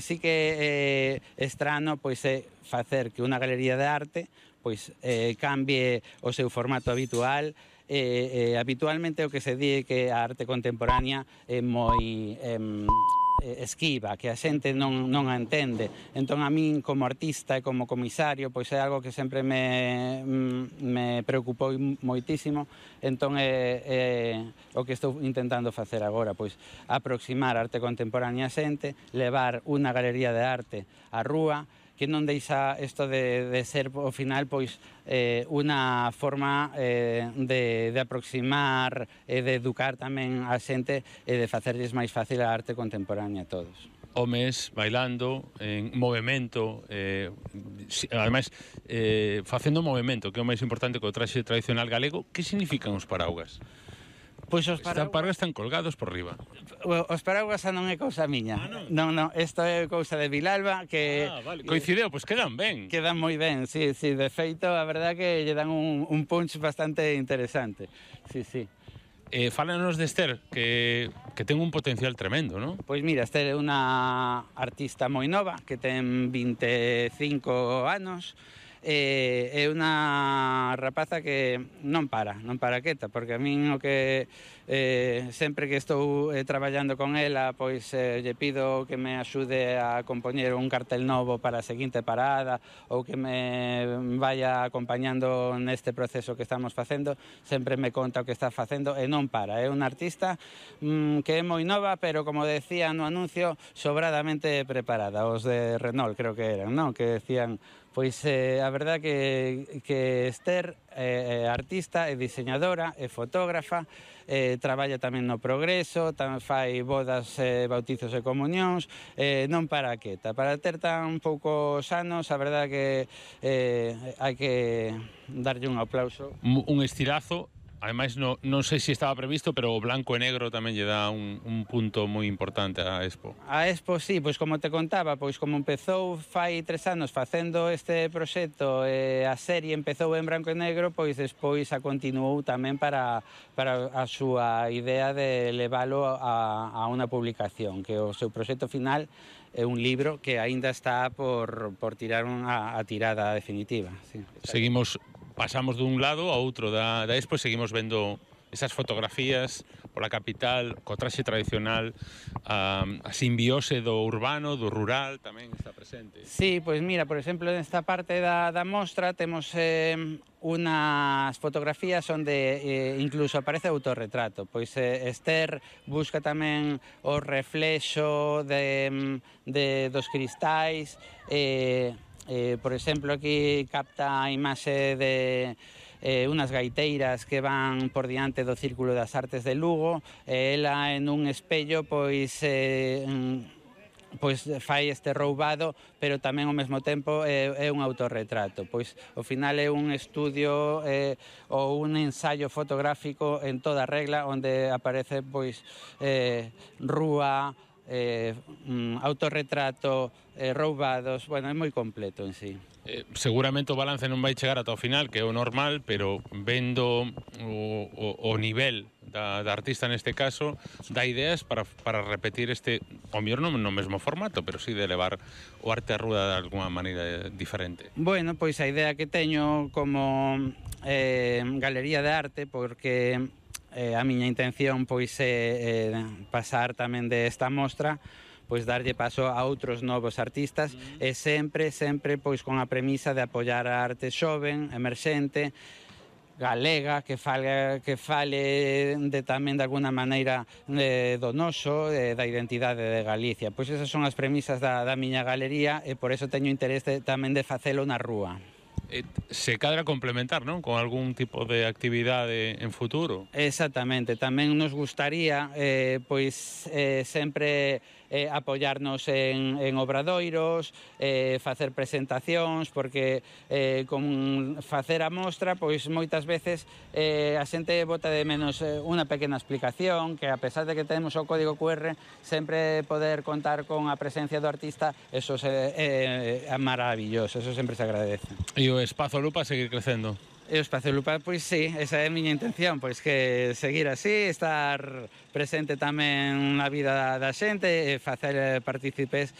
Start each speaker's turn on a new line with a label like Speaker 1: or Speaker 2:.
Speaker 1: sí que estrano pois é facer que unha galería de arte pois cambie o seu formato habitual. Habitualmente o que se di é que a arte contemporánea é moi esquiva, que a xente non a entende. Entón a min como artista e como comisario pois é algo que sempre me preocupou moitísimo. Entón o que estou intentando facer agora, pois aproximar a arte contemporánea a xente, levar unha galería de arte á rúa, que non deixa isto de ser ao final pois unha forma de aproximar e de educar tamén a xente e de facerlles máis fácil a arte contemporánea a todos.
Speaker 2: Homes bailando, en movimento, ademais facendo movimento, que é o máis importante co traxe tradicional galego. Que significan os paraugas?
Speaker 1: Pois os
Speaker 2: paraugas están colgados por riba.
Speaker 1: Os paraugas xa non é cousa miña. Non, isto é cousa de Vilalba que...
Speaker 2: Vale. Coincideu, pois quedan ben.
Speaker 1: Quedan moi ben, sí. De feito, a verdad que lle dan un punch bastante interesante. Sí.
Speaker 2: Fálanos de Esther, que ten un potencial tremendo, non?
Speaker 1: Pois mira, Esther é unha artista moi nova, que ten 25 anos, é unha rapaza que non para quieta, porque a min o que sempre que estou traballando con ela, pois lle pido que me axude a compoñer un cartel novo para a seguinte parada, ou que me vaya acompañando neste proceso que estamos facendo, sempre me conta o que está facendo e non para. É unha artista que é moi nova, pero como decía no anuncio, sobradamente preparada. Os de Renault creo que eran, non? Que decían... Pois a verdad que Esther é artista, é diseñadora, é fotógrafa, traballa tamén no Progreso, tamén fai bodas, bautizos e comunións, non para quieta. Para ter tan poucos anos, a verdad que hai que darlle un aplauso.
Speaker 2: Un estilazo. Ademais, non sei se estaba previsto, pero o blanco e negro tamén lle dá un punto moi importante á Expo.
Speaker 1: A Expo, sí, pois como te contaba, pois como empezou fai 3 anos facendo este proxecto, a serie empezou en branco e negro, pois despois a continuou tamén para a súa idea de leválo a unha publicación, que o seu proxecto final é un libro que aínda está por tirar a tirada definitiva. Sí.
Speaker 2: Pasamos dun lado a outro da Expo e seguimos vendo esas fotografías pola capital, co traxe tradicional, a simbiose do urbano, do rural tamén está presente.
Speaker 1: Sí, pois mira, por exemplo, nesta parte da mostra temos unas fotografías onde incluso aparece autorretrato. Pois Esther busca tamén o reflexo dos cristais, por exemplo, aquí capta a imaxe de unas gaiteiras que van por diante do Círculo das Artes de Lugo, ela en un espello pois fai este roubado, pero tamén ao mesmo tempo é un autorretrato. Pois ao final é un estudio ou un ensaio fotográfico en toda regla, onde aparece pois rúa, autorretrato, roubados, bueno, é moi completo en sí.
Speaker 2: Seguramente o balance non vai chegar ata o final, que é o normal, pero vendo o nivel da artista neste caso, dá ideas para repetir o mellor non no mesmo formato, pero sí de levar o arte á rúa de alguma maneira diferente.
Speaker 1: Bueno, pois a idea que teño como galería de arte, porque a miña intención pois é pasar tamén desta mostra, pois darlle paso a outros novos artistas e sempre pois con a premisa de apoiar a arte xoven, emerxente, galega, que fale tamén de alguna maneira do noso, da identidade de Galicia. Pois esas son as premisas da miña galería e por eso teño interés tamén de facelo na rúa.
Speaker 2: Se cadra complementar, non? Con algún tipo de actividade en futuro.
Speaker 1: Exactamente, tamén nos gustaría pois sempre apoiarnos en obradoiros, facer presentacións, porque con facer a mostra, pois moitas veces a xente bota de menos unha pequena explicación, que a pesar de que temos o código QR, sempre poder contar con a presencia do artista, eso é maravilloso, eso sempre se agradece.
Speaker 2: E o Espazo Lupa seguir crecendo.
Speaker 1: E o Espazo Lupa, pois sí, esa é a miña intención, pois que seguir así, estar presente tamén na vida da xente e facer partícipes